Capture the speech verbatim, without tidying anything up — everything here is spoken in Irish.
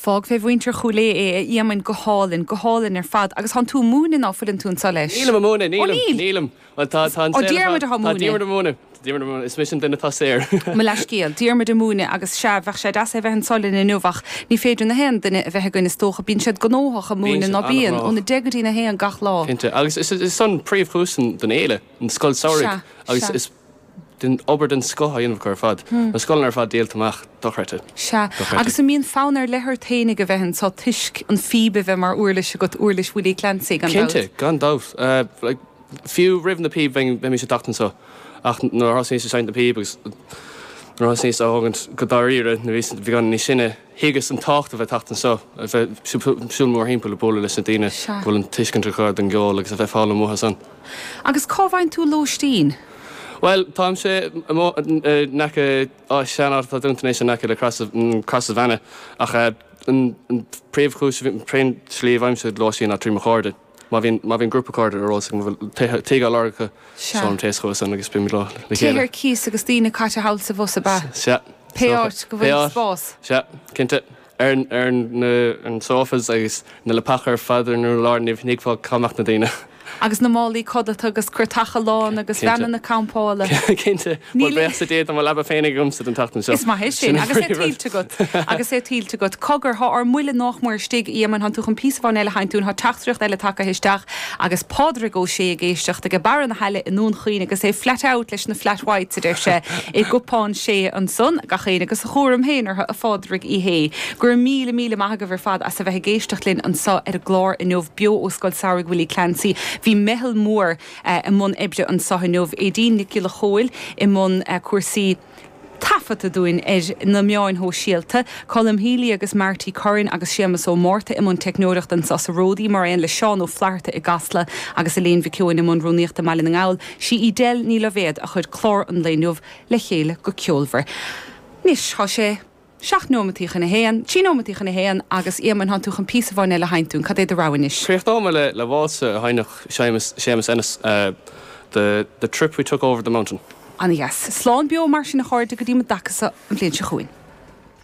Fág fé mhuintir Chúil Aodha é, a Éamoinn, go hálainn, go hálainn ar fad. Agus thánn tú ag múineadh ná fuileann tú anso leis? Nílim ag múineadh, Ó nílim, níl? nílim. Bhuel tá, tá an Ó saol ar Diarmuid fad, atá tá múineadh. Diarmuid ag múineadh, tá Diarmuid ag múineadh, is mise an duine atá saor. Mo leathscéal, Diarmuid ag múineadh agus sea, bheadh sé deas é bheith anso linn inniu ach ní féidir na haon duine a bheith againn is dócha, bíonn siad gnóthach ag Bíonn múineadh siad ná bíonn, an-ghnóthach. óna deich go dtí na haon gach lá. Cinnte, agus is, is an príomhchúis den fhéile, an scoil samhraidh, Sea, agus sea. is den obair den scoth á dhéanamh acu ar fad. Na scoileanna ar fad díolta amach, dochreidte. Sea, Dochreidte. agus an mbíonn fonn ar leith ort féinig a bheith anso toisc an phíb a bheith mar uirlis agat, uirlis Willie Clancy, gan dabht. Cinnte, gan dabht. Uh, like, fiú roimh na píb bheinn bheimis ag teacht anseo ach nuair a thosnaíos ag seinnt na píb agus nuair a thosnaíos á thógaint go dáiríre nuair a bhí gan níos sine thuigeas an tábhacht a bheith teacht anseo a bheith siúl mórthimpeall ag bualadh leis na daoine Sea. go bhfuil an tuiscint acu don gceol agus a bheith foghlaim uathu san. Agus cá bhfaigheann tú lóistín? Well, táimse in aice á seanáit atá dúnta anois in aice le Crois Bheanna ach eh, an an príomhchúis príomh slí bhfaighimse lóistín ná trí mo chairde. Má bhíonn má bhíonn grúpa cairde ar eolas agam bhfuil tigh á lorg acu Sea. seolaim téacs chucu san agus bímid leo le Tithe chéile. ar cíos agus daoine caite thall sa bhus ab ea? Sea. Pé áit go Pé bhfuil áit. spás. Sea, cinnte. Ar ar na an sofas agus na leapacha ar fad ar an urlár ní thuigfeá cá mbeadh na daoine. Agus na málaí codlata agus cúrtacha lán agus Cinnte. veaineanna campála. Cinnte Níl- bréach sa dé mo leaba féin agamsa den tseachtain seo. Is maith é sin Sin agus é an príomhrud. tuillte agat agus é tuillte agat. Cogar thá ár mbuille nach mór istigh Éamoinn thánn tú chun píosa amháin eile a sheinnt dúinn thá teachtaireacht eile tagtha isteach agus Pádraig Ó Sé ag éisteacht ag Barra na hAille i nDún Chaoin agus é flat out leis na flat whites a deir sé i gcupán sé ansan gach éinne agus a chúram féin orthu a Phádraig Uí Shé. Gur míle míle maith agaibh ar fad as a bheith ag éisteacht linn anseo ar an gclár inniu beo ó Scoil Samhraidh Willie Clancy. Bhí meitheal mór eh, i mbun oibre anseo inniu Aideen Nic Giolla Chóill i mbun eh, cúrsaí taifeadta dúinn ar na meáin shóisialta, Colm Healy agus Marty Curran agus Séamus Ó Márta i mbun teicneoireachta anseo sa Ródaí mar aon le Seán Ó Flatharta i gCasla agus Elaine Mhic Eoin i mbun rúnaíochta i mBaile na nGall, sí í Del Ní Loibhéad a chuir clár an lae inniu le chéile go ceolmhar. Anois thá sé seacht nóimeataí chun a haon, trí nóimeataí chun a haon agus Éamoinn thánn tú chun píosa amháin eile a sheinnt dúinn, cad é do rogha anois. Críochnóidh mé le le válsa a sheinneadh Séamus Séamus Ennis uh, the the trip we took over the mountain. Ana dheas. Slán beo mar sin a chairde go dtí mo dacasa an bhliain seo chugainn.